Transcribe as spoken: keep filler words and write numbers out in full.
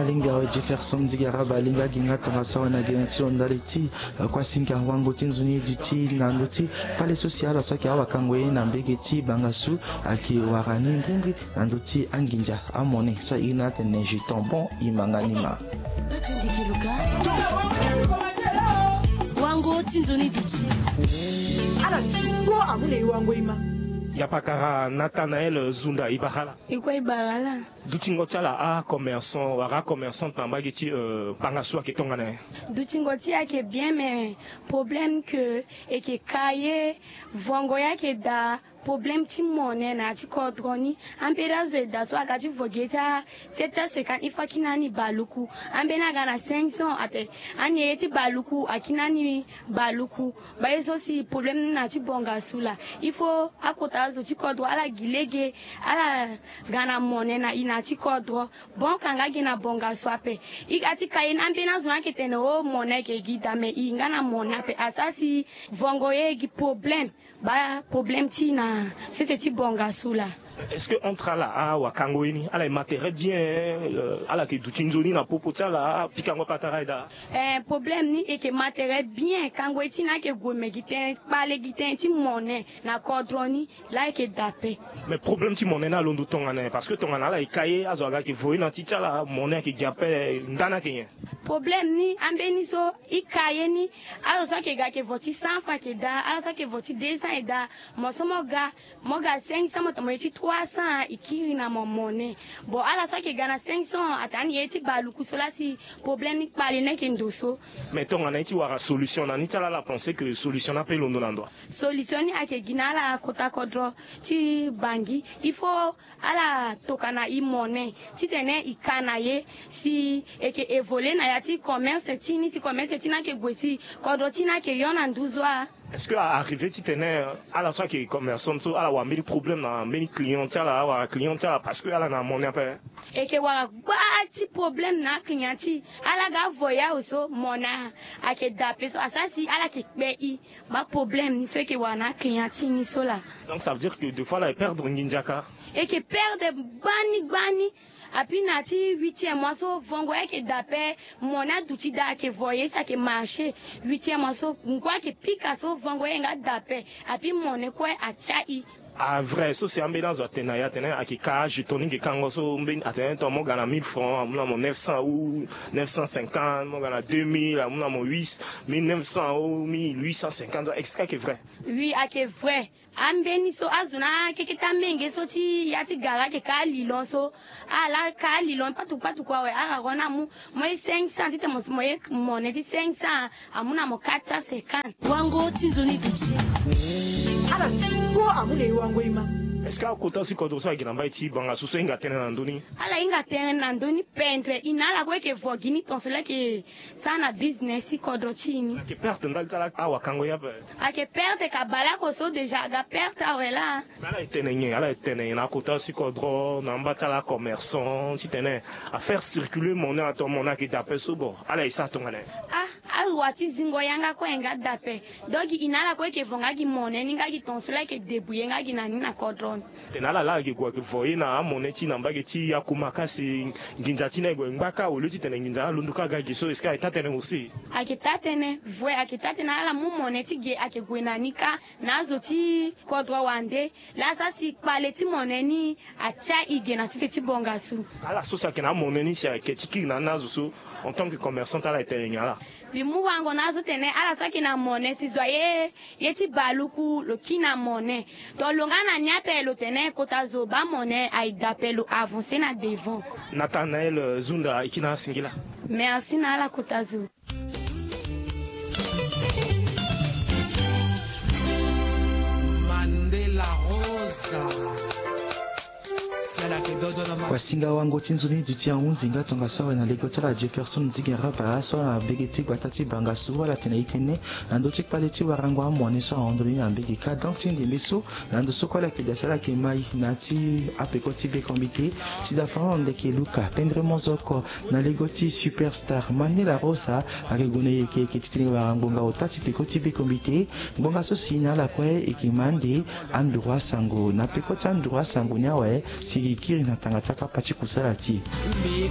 Inga awe Jefferson Zigaraba alinga gi nga tongaso awe na gene ti lo ndali ti, eh, kuasinga wango ti nzoni duti na ndö ti kpale so si ala so ayeke awakango ye na mbege ti bangasu ayeke wara ni mbirimbiri na ndö ti anginza amone so airi na atene je tombon imanga ni ma. Wango ti nzoni duti. Ala duti kpo amu na e wango e ma. Yapakara Nathanael Zunda Ibarala. Ikue Ibarala. Dutingo ti ala acommerçant wala acommerçante na mbage ti, euh, bangasu ayeke tongana nyen? Dutingo ti e ayeke bien, mais problème que e yeke ka ye, vongo ye ayeke daa, problème ti mone na ya ti kodro ni. Ambeni azo e daa so aga ti vo gi ye ti a sept cent cinquante, il faut akiri na ni baluku. Ambeni aga na cinq cents ate, ani ye ti baluku akiri na ni baluku. Baa ye so si problème ni na ya ti bongasu laa. Il faut akota azo ti kodro ala gi lege, ala ga na mone na e na ya ti kodro. Bon, ka nga gi na bongasu ape. E ga ti ka ye ni, ambeni azo ni ayeke tene o mone ayeke gi daa, mais e nga na mone ape. Asara si vongo ye gi problème. Baa problème ti e na sese ti bongasu laa. Est-ce que entre ala awakango ye ni, ala e ma tere bien, euh, ala yeke duti nzoni na popo ti ala, apikango patara e daa? Eh, problème ni e yeke ma tere bien, kango ye ti e ni ayeke gue, me gi tënë, kpale gi tënë ti mone na kodro ni laa ayeke daa ape. Mais problème ti mone ni alondo tongana nyen? Parce que tongana ala e ka ye, azo aga ayeke vo ye na ti ti ala, mone ayeke gi ape, ndani ayeke nyen? Problème ni, ambeni so e ka ye ni, azo so ayeke ga ayeke vo ti cent francs ayeke daa, ala so ayeke vo ti deux cents e daa. Mo so mo ga, mo ga cinq cents, mo tene mo ye ti trois cents, e kiri na mo mone. Bon, ala so ayeke ga na cinq cents, atene ani ye ti baluku so laa si problème ni kpale ni ayeke ndo so. Mais tongana ye ti wara solution na ni ti ala, ala pense que solution ni ape londo na ndo? Solution ni ayeke gi na ala kota kodro ti Bangui. Il faut ala tokua na e mone titene e ka na ye, si e yeke évoluer na ya ti commerce ti ni, si commerce ti ni ayeke gue, si kodro ti ni ayeke yo na nduzu a. Est-ce que a arrivé titene, euh, ala so ayeke commerçant so ala wara mbeni problème na mbeni client ti ala, awara client ti ala parce que ala na mone ape? E yeke wara gba ti problème na aclient ti e. Ala ga vo ye awe so mone ayeke daa ape so, asara si ala yeke kpe e. Baa problème ni so e yeke wara na aclient ti e ni so laa. Donc ça veut dire que des fois ala e perdre nginza ka? E yeke perdre gbani gbani. Apui na ya ti huitième mois so vongo ye ayeke daa ape. Mone aduti daa, ayeke vo ye si ayeke marché. Huitième mois so ngu ayeke pika so vongo ye nga daa ape. Apui mone kue atia e. Ah, vrai, so si ambeni azo atene na e atene ayeke ka ajeton ni ge kango so mbeni atene tongana mo ga na mille francs amu na mo neuf cents ou neuf cent cinquante, mo ga na deux mille amu na mo huit, mille neuf cents ou mille huit cent cinquante, est-ce que ayeke vrai? Oui, ayeke vrai. Ambeni so azo na akeke ti amenge so ti ya ti gara ayeke ka alilon so. Ala ka alilon patuku patuku awe, ara ro ni amu mo ye cinq cents titene mo ye mone ti cinq cents amu na mo quatre cent cinquante. Wango ti nzoni duti. Ala duti kpo amu na e wango e ma. Est-ce que akota si kodro so ayeke na mbai ti bangasu so ahinga tënë na ndö ni? Ala hinga tënë na ndö ni pendre. E na ala kue e yeke vo gi ni tonso laa e yeke sara na business ti kodro ti e ni. Ayeke perte ndali ti ala awakango ye ape? Ayeke perte ka baleoko so déjà aga perte awe laa. Mais ala e tene nyen? Ala e tene nyen na akota si kodro na amba ti ala commerçant titene a faire circuler monnaie ato monnaie ayeke daa ape so bon ala e sara tongana nyen? Ah, awa ti zingo yanga kue ayeke nga daa ape. Donc e na ala kue e yeke vo nga gi mone ni nga gi tonso laa e yeke débrouiller nga gi na ni na kodro ni. Tene ala laa ayeke gue ayeke vo ye na amone ti e na mbage ti akumaka si nginza ti ni aye gue ngba kâ au lieu titene nginza ni alondo kâ aga gi so, est-ce que ayeke taa tënë aussi? Ayeke taa tënë, vrai ayeke taa tënë. Ala mu mone ti ge ayeke gue na ni kâ na azo ti kodro wande. Laa asara si kpale ti mone ni atia e ge na sese ti bongasu. Ala so si ayeke na amone ni si ayeke ti kiri na ni na azo so, en tant que commerçante ala e tene nyen ala? Mbi mu wango na azo tene ala so ayeke na mone si zo aye ye ti baluku lo kiri na mone. To lo nga na ni ape lo tene kota zo baa mone aye daa ape, lo avancer na devant. Nathanael Zunda, e kiri na ala singila. Merci na ala kota zo. Mandela Rosa. Kuasinga wango ti nzoni duti ahunzi nga tongaso awe na lego ti ala Jefferson Zigaraba so na mbege ti gbata ti bangasu, ala tene e tene na ndö ti kpale ti warango amone so ahon ndoni na mbege kâ. Donc ti ndembe so na ndo so kue ala yeke daa si ala yeke mai na ya ti apeko ti bekombite. Ti da fana na ndeke luka pendre mozoko na lego ti superstar Mandela Rosa ayeke gue na yeke yeke titene e wara ngbonga ota ti peko ti bekombite. Ngbonga so si na ala kue e yeke ma ande anduru asango na peko ti anduru asango ni awe si e yeke kiri na tanga ti akapa ti kusala ti e.